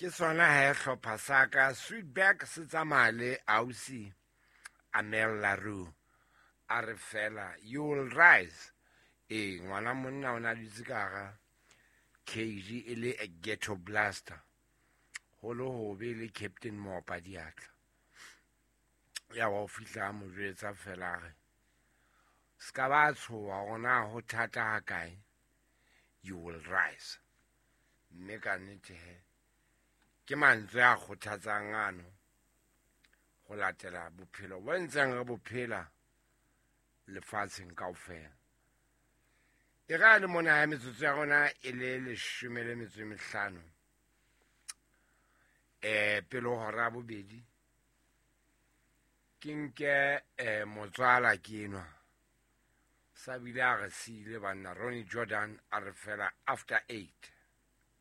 Ke sona he hlopha sa ka Sweetback se tsamaya le ausi Amel Laroo. A re fela you will rise. Ee, ngwana monna o na dutse ka hara cage e le a ghetto blaster. Ho le hobe le Captain Mopa diatla. Ya wa o fihla a mo jwetsa fela a re ska ba tshoha hore na ho thata ha kae, you will rise. Mme ka nnete he ke mantswe a kgothatsang ano ho latela bophelo bo ntseng re bophela lefatsheng kaofela. E re le mona ya metsotso ya rona e le 15 pele ho hora ya bobedi, ke nke motswala ke enwa sa bile a re siile banna Ronnie Jordan a re fela after 8.